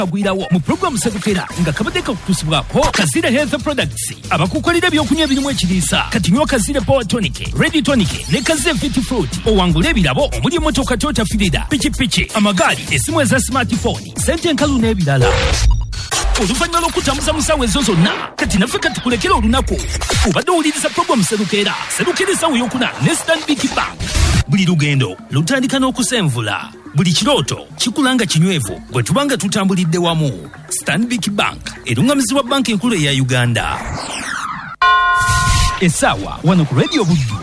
Agwirawo mu pulogulaamu Sserukera nga kabadde kakutuusibwako Kazire Health Products, abakukolera ebyokunywa ebirimu ekiriisa. Kati nywa Kazire Power Tonic, Red Tonic ne Kazire Fit Fruit owangule ebirabo omuli emmotoka Toyota Firida, pikipiki, amagaali, essimu eza smartphone, ssente enkalu n'ebirala. Oluvannyuma lw'okutambuza mu ssaawa ezo zonna, kati naffe katukulekere olunaku. Obadde owuliriza pulogulaamu Sserukera. Sserukera essaawa ey'okuna ne Stanbic Bank. Buli lugendo lutandika n'okusenvula. Buli kirooto kikula nga kinywevu bwe tuba nga tutambulidde wamu. Stanbic Bank erungamizibwa Banka Enkulu eya Uganda. Essaawa wano ku Radio Buddu.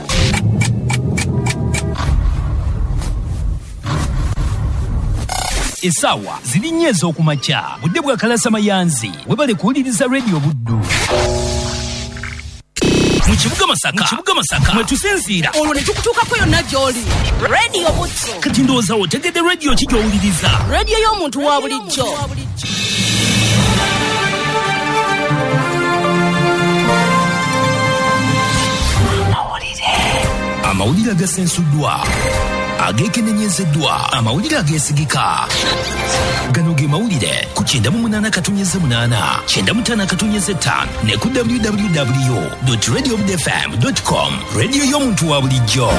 Essaawa ziri nnya ez'okumakya. Budde bwa Kalasa Mayanzi. Webale kuwuliriza Radio Buddu. Mu kibuga Masaka, mu kibuga Masaka mwe tusinziira olwo ne tukutuukako yonna gy'oli. Radio Buddu. Kati ndowooza otegedde radio ki gy'owuliriza? Radio y'omuntu wa bulijjo. Amawulire agasensuddwa, ageekenenyezeddwa, amawulire ageesigika. Gano ge mawulire ku 98.8, 95.5 ne ku www.radiobudfm.com. Radio y'omuntu wa bulijjo.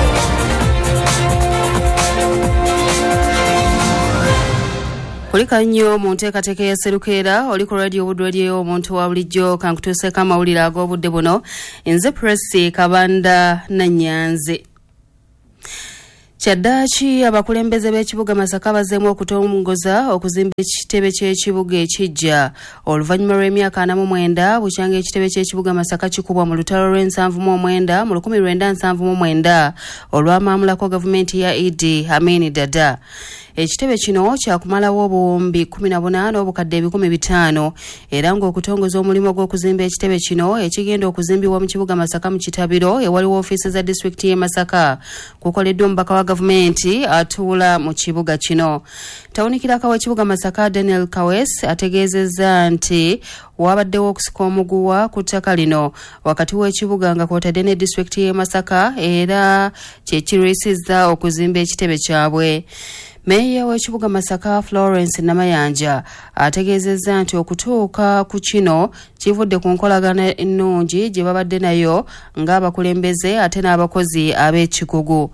Kulika nnyo mu nteekateeka ya Sserukera, oli ku Radio Buddu, radio y'omuntu wa bulijjo. Kankutuuseeko amawulire ag'obudde buno. Nze Presi Kabanda Nannyanzi. Kyaddaaki abakulembeze b'ekibuga Masaka bazzeemu okutongoza okuzimba ekitebe ky'ekibuga ekiggya oluvannyuma lw'emyaka 49 bukyanga ekitebe ky'ekibuga Masaka kikubwa mu lutalo lw'e79 mu 1979 olwamaamulako gavumenti ya Idi Amin Dada. Ekitebe kino kyakumalawo obuwumbi 18 obukadde 500 era ng'okutongoza omulimu gw'okuzimba ekitebe kino ekigenda okuzimbibwa mu kibuga Masaka mu Kitabiro ewaliwo ofiisi za disitulikiti y'e Masaka kukoleddwa omubaka wa gavumenti atuula mu kibuga kino. Tawunikiraka w'ekibuga Masaka Daniel Kawes ategeezezza nti wabaddewo okusika omuguwa ku ttaka lino wakati w'ekibuga nga kw'otadde ne disitulikiti y'e Masaka era kye kirwisizza okuzimba ekitebe kyabwe. Meeya w'ekibuga Masaka Florence Namayanja ategeezezza nti okutuuka ku kino kivudde ku nkolagana ennungi gye babadde nayo ng'abakulembeze ate n'abakozi ab'ekikugu.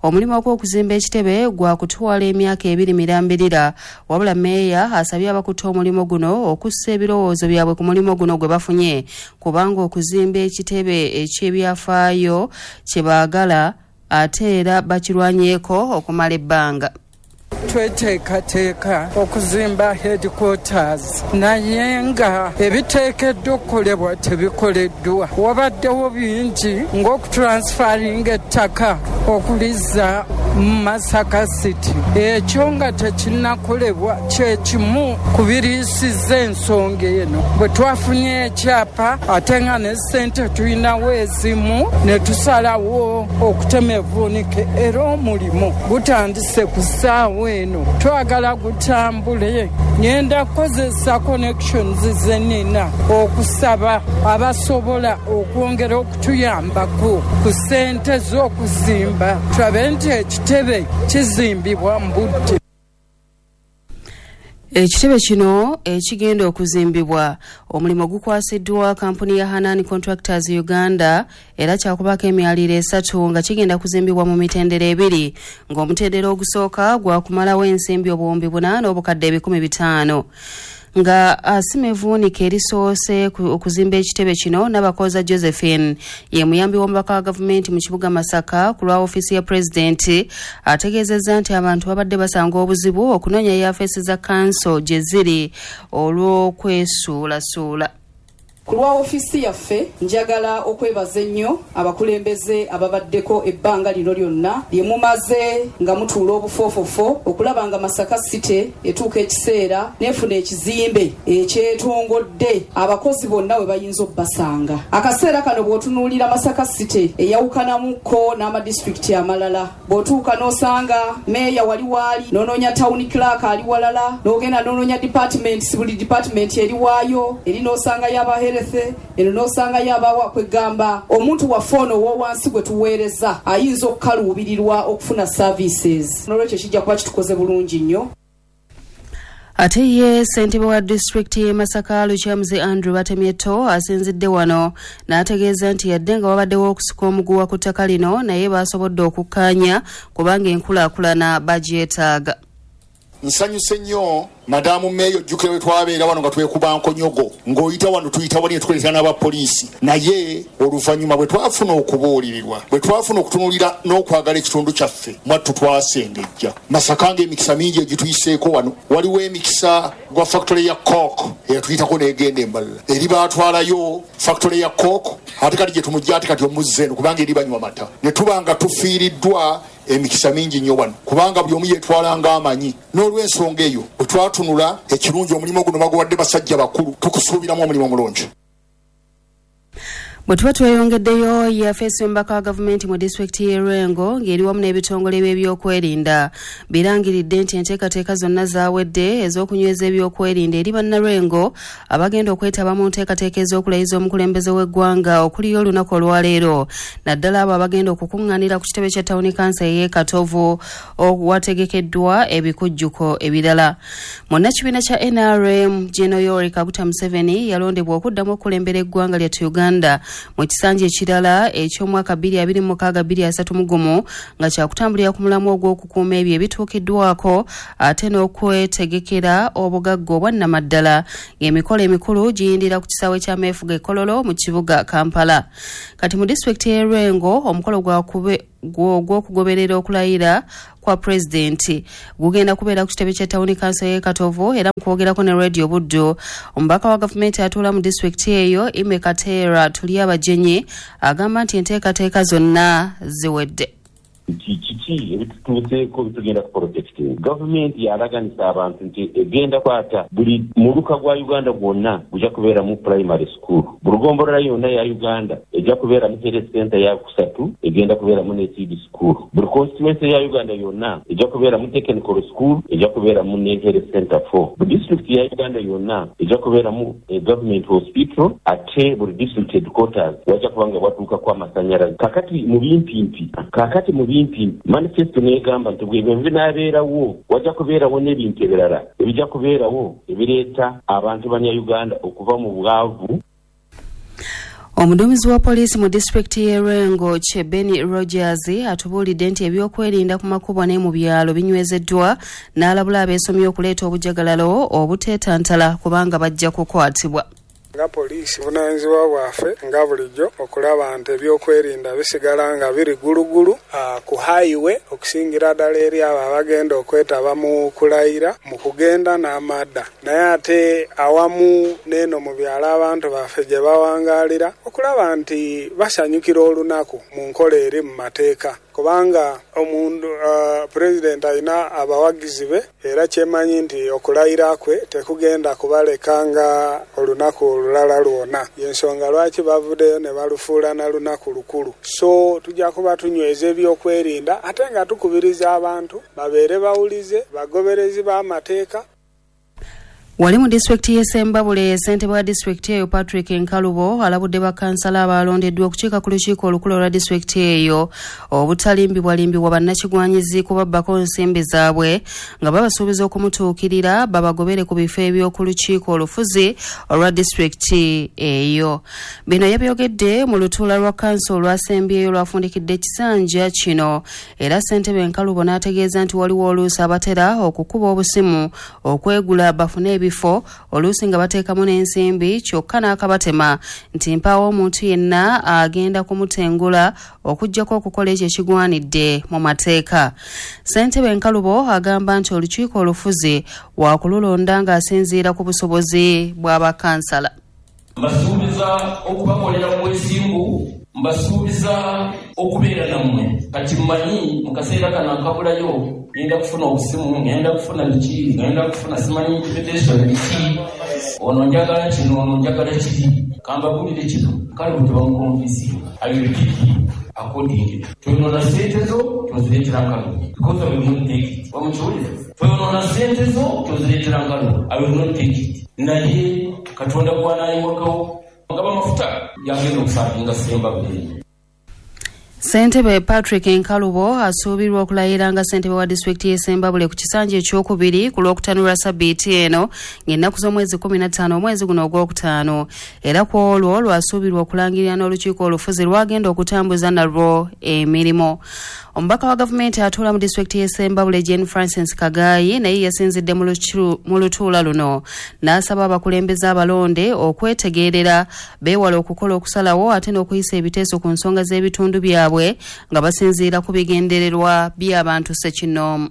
Omulimu ogw'okuzimba ekitebe gwa kutwala emyaka 2 mirambirira, wabula meeya asabye abakutte omulimu guno okussa ebirowoozo byabwe ku mulimu guno gwe bafunye, kubanga okuzimba ekitebe eky'ebyafaayo kye baagala ate era bakirwanyeeko okumala ebbanga. Tweteekateeka okuzimba headquarters, naye nga ebiteekeddwa okukolebwa tebikoleddwa. Wabaddewo bingi ng'okutransfaringa ettaka okulizza mu Masaka City, ekyo nga tekinnakolebwa kyekimu ku biriisizza ensonga eno. Bwe twafunye ekyapa ate nga ne ssente tulinawo ezimu, ne tusalawo okutema evvuunike, era omulimu gutandise ku ssaawa eno. Twagala gutambule. Ngenda kukozesa connections ze nnina okusaba abasobola okwongera okutuyambako ku ssente z'okuzimba, tulabe nti ekitebe kizimbibwa mu budde. Ekitebe kino ekigenda okuzimbibwa omulimu gukwasiddwa kampuni ya Hanan Contractors Uganda era kyakubaako emyaliro 3 nga kigenda kuzimbibwa mu mitendera 2, ng'omutendera ogusooka gwakumalawo ensimbi obuwumbi 8 obukadde 500. Nga asima evvuunike erisoose okuzimba ekitebe kino, Nabakoza Josephine ye muyambi w'omubaka wa gavumenti mu kibuga Masaka ku lwa ofiisi ya pulezidenti ategeezezza nti abantu babadde basanga obuzibu okunoonya yafeesi za kanso gye ziri olw'okwesuulasuula. Ku lwa ofiisi yaffe njagala okwebaza ennyo abakulembeze ababaddeko ebbanga lino lyonna lye mumaze nga mutuula obufoofofo okulaba nga Masaka City etuuka ekiseera n'efuna ekizimbe ekyetongodde abakozi bonna we bayinza obbasanga. Akaseera kano bw'otunuulira Masaka City eyawukanamukko n'amadisitulikiti amalala, bw'otuuka n'osanga meeya wali waali, n'onoonya town clerk ali walala, n'ogenda n'onoonya departments, buli department eri waayo, eri n'osangayo aba health, eno n'osangayo abawa. Kwegamba omuntu waffe ono ow'owansi gwe tuweereza ayinza okukaluubirirwa okufuna services. N'olwekyo kijja kuba kitukoze bulungi nnyo. Ate ye ssentebe wa disitulikiti y'e Masaka Lukyamuzi Andrew Batemyeto asinzidde wano n'ategeeza nti yadde nga wabaddewo okusika omuguwa ku ttaka lino, naye baasobodde okukkaanya kubanga enkulaakulana bagyetaaga. Nsanyuse nnyo Madamu Meeyo, ojjukira bwe twabeera wano nga twekuba nkonyogo, ng'oyita wano tuyita wali ne tukoletera n'abapoliisi. Naye oluvannyuma bwe twafuna okubuulirirwa, bwe twafuna okutunuulira n'okwagala ekitundu kyaffe, mwattu twasengejja. Masaka ng'emikisa mingi egituyiseeko wano, waliwo emikisa gwa factory ya Coke eyatuyitako n'egenda embalala. Eri baatwalayo factory ya Coke, ate kati gye tumujja ate kati omuzza eno kubanga eri banywa mata. Ne tuba nga tufiiriddwa emikisa mingi nnyo wano kubanga buli omu yeetwala ng'amanyi. N'olw'ensonga eyo bwe twatunula ekirungi omulimu guno baguwadde basajja bakulu, tukusuubiramu omulimu omulungi. Bwe tuba tweyongeddeyo, yafeesi omubaka wa gavumenti mu disitulikiti y'e Lwengo ng'eri wamu n'ebitongole by'ebyokwerinda birangiridde nti enteekateeka zonna zaawedde ez'okunyweza ebyokwerinda eri bannalwengo abagenda okwetaba mu nteekateeka ez'okulayiza omukulembeze w'eggwanga okuliyo olunaku olwaleero, naddala abo abagenda okukuŋŋaanira ku kitebe kya tawuni kansa ey'e Katovu owategekeddwa ebikujjuko ebirala. Munnakibiina kya NRM Gen. Yoweri Kaguta Museveni yalondebwa okuddamu okukulembera eggwanga lyattu Uganda mu kisanja ekirala eky'omwaka 2026-2031 nga kyakutambulira ku mulamwa ogw'okukuuma ebyo ebituukiddwako ate n'okwetegekera obugagga obwannamaddala, ng'emikolo emikulu giyindira ku kisaawe ky'ameefuga e Kololo mu kibuga Kampala. Kati mu disitulikiti y'e Lwengo omukolo gw'okugoberera okulayira kwa pulezidenti gugenda kubeera ku kitebe kya tawuni kanso y'e Katovu. Era mu kwogerako ne Radio Buddu, omubaka wa gavumenti atuula mu disitulikiti eyo Ime Kateera Tulyabagenyi agamba nti enteekateeka zonna ziwedde. Nti kiki ebitutuuseeko bitugenda ku protecting? Gavumenti yalaganisa abantu nti egenda kwata buli muluka gwa Uganda gwonna gujja kubeeramu primary school, buli gombolola yonna ya Uganda ejja kubeeramu health center ya kusatu, egenda kubeeramu ne seed school, buli constituency ya Uganda yonna ejja kubeeramu technical school, ejja kubeeramu ne health center 4, buli district ya Uganda yonna ejja kubeeramu government hospital, ate buli district headquarters wajja kuba nga watuukako amasanyalaze. Kakati mu bimpimpi, kakati mu bimpi manifesto n'egamba nti bwe binaabeerawo wajja kubeerawo n'ebintu ebirala ebijja kubeerawo ebireeta abantu bannayuganda okuva mu bwavu. Omuduumizi wa poliisi mu disitulikiti y'e Lwengo Chebeni Rogers atubuulidde nti ebyokwerinda ku makubo ne mu byalo binywezeddwa, n'alabula abeesomye okuleeta obujagalalo obuteetantala kubanga bajja kukwatibwa. Nga poliisi buvunaanyizibwa bwaffe nga bulijjo okulaba nti ebyokwerinda bisigala nga biri gulugulu ku highway, okusingira ddala eri abo abagenda okwetaba mu kulayira mu kugenda n'amadda, naye ate awamu n'eno mu byalo abantu baffe gye bawangalira okulaba nti basanyukira olunaku mu nkola eri mu mateeka, kubanga omuntu pulezidenti alina abawagizi be, era kyemanyi nti okulayira kwe tekugenda kubaleka nga olunaku olulala lwona. Yensonga lwaki bavuddeyo ne balufuula na lunaku lukulu. So tujja kuba tunyweza ebyokwerinda ate nga tukubiriza abantu babeere bawulize, bagoberezi b'amateeka. Wali mu disitulikiti y'e Ssembabule, ssentebe wa disitulikiti eyo Patrick Nkalubo alabudde bakansala abalondeddwa okukiika ku lukiiko olukulu olwa disitulikiti eyo obutalimbibwalimbibwa bannakigwanyizi kubabbako nsimbi zaabwe nga babasuubiza okumutuukirira babagobere ku bifo eby'oku lukiiko olufuzi olwa disitulikiti eyo. Bino yabyogedde mu lutuula lwa kanso olwasembyeyo olwafundikidde ekisanja kino, era ssentebe Nkalubo n'ategeeza nti waliwo oluusi abatera okukuba obusimu okwegula bafune ebifo, oluusi nga bateekamu n'ensimbi, kyokka n'akabatema nti mpaawo omuntu yenna agenda kumutengula okuggyako okukola ekyo ekigwanidde mu mateeka. Ssentebe Nkalubo agamba nti olukiiko olufuzi waakululonda ng'asinziira ku busobozi bw'abakansala. Mbasuubiza okubakolera mu bwesimbu, mbasuubiza okubeera nammwe. Kati mmanyi mu kaseera kano akabulayo ngenda kufuna obusimu, ngenda kufuna biki, ngenda kufuna simanyi intimidation biki, ono njagala kino, ono njagala kiri. Kambabuulire kino, Nkalubo tebamukonvinsinga. I will pick him accordingly. Toyonoona ssente zo tozireetera Nkalubo because I will not take it. Bamukiwulira? Toyonoona ssente zo tozireetera Nkalubo, I will not take it. Naye Katonda gw'anaayiwakawo ngaba amafuta yagenda okusaavinga Ssembabule. Ssentebe Patrick Nkalubo asuubirwa okulayira nga ssentebe wa disitulikiti y'e Ssembabule ku kisanja ekyokubiri ku Lwokutaano lwa sabbiiti eno ng'ennaku z'omwezi 15 omwezi guno ogwokutaano, era ku olwo lwasuubirwa okulangirira n'olukiiko olufuzi lwagenda okutambuza nalwo emirimu. Omubaka wa gavumenti atuula mu disitulikiti y'e Ssembabule Jane Francis Kagayi naye yasinzidde mu lutuula luno n'asaba abakulembeze abalonde okwetegerera, beewale okukola okusalawo ate n'okuyisa ebiteeso ku nsonga z'ebitundu byabwe nga basinziira ku bigendererwa by'abantu ssekinnoomu.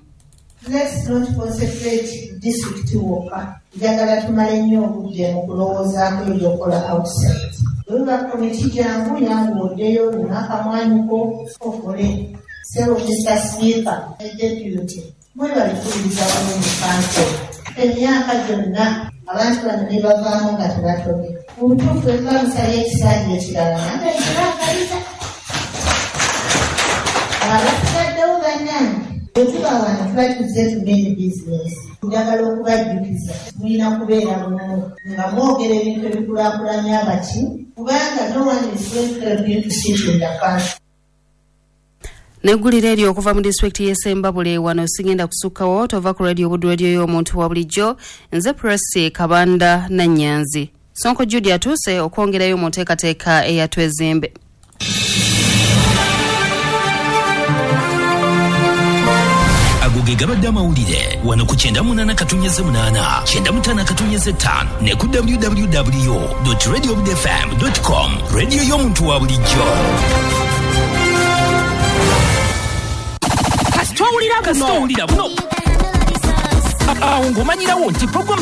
Let's not concentrate district wokka. Njagala tumale nnyo obudde mu kulowoozaako ebyokola outside. Bwe biba komiti, jangu yangu oddeyo n'akamwanyuko okole. Ssebo Mr. Speaker ne Deputy, mwebale kuwuliriza bulungi council. Emyaka gyonna abantu bano ne bavaamu nga tebatobye. Mu butuufu bwe tuba musabye ekisanja ekirala, nange nkibagaliza. Abasigaddewo bannange, bwe tuba wano tuba tuzze to main business. Njagala okubajjukiza, mulina kubeera bumu nga mwogera ebintu ebikulaakulanya abaki, kubanga no one is going to help you to sit in the council. Neggulire eryo okuva mu disitulikiti y'e Ssembabule. Wano sigenda kusukkawo, tova ku Radio Buddu, radio y'omuntu wa bulijjo. Nze Presi Kabanda Nannyanzi. Sonko Judy atuuse okwongerayo mu nteekateeka eyatwezimbe. Ago ge gabadde amawulire wano ku 98.8, 95.5 ne ku www.radiobudfm.com, radio y'omuntu wa bulijjo. Kasita owulira buno, Kasita owulira buno, awo ng'omanyirawo nti program